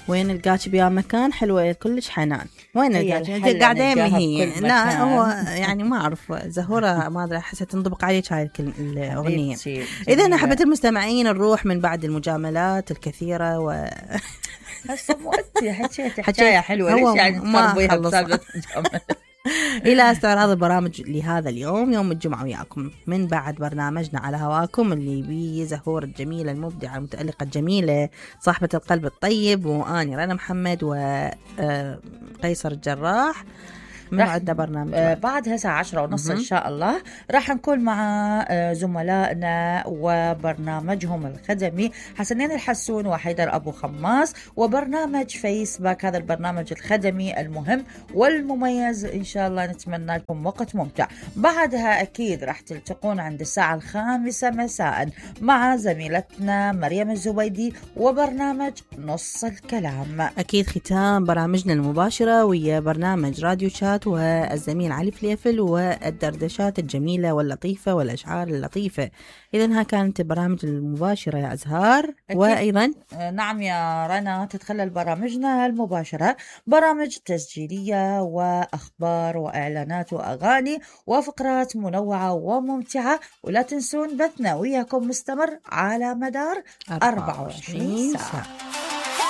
وين القاك بيا مكان حلوة كلش حنان. وين القاك قاعدة يمي هي؟ لا هو يعني ما أعرف زهورة ما أدري حسيت تنطبق عليك هاي الأغنية. إذا حبيت المستمعين نروح من بعد المجاملات الكثيرة هسه مو أنتي حكاية حلوة ليش يعني ما خلص إلى استعراض البرامج لهذا اليوم يوم الجمعة وياكم من بعد برنامجنا على هواكم اللي بيه زهور الجميلة المبدعة المتألقة الجميلة صاحبة القلب الطيب وأني رنا محمد وقيصر الجراح. من بعد برنامج بعد هسه 10:30 إن شاء الله راح نكون مع زملائنا وبرنامجهم الخدمي حسنين الحسون وحيدر أبو خماس وبرنامج فيسباك. هذا البرنامج الخدمي المهم والمميز إن شاء الله نتمنى لكم وقت ممتع. بعدها أكيد راح تلتقون عند الساعة 5 مساء مع زميلتنا مريم الزبيدي وبرنامج نص الكلام. أكيد ختام برامجنا المباشرة ويا برنامج راديو شات والزميل علي فليفل والدردشات الجميلة واللطيفة والأشعار اللطيفة. إذن ها كانت برامج المباشرة يا أزهار. وأيضا نعم يا رنا تتخلل برامجنا المباشرة برامج تسجيلية وأخبار وإعلانات وأغاني وفقرات منوعة وممتعة. ولا تنسون بثنا وياكم مستمر على مدار 24 ساعة.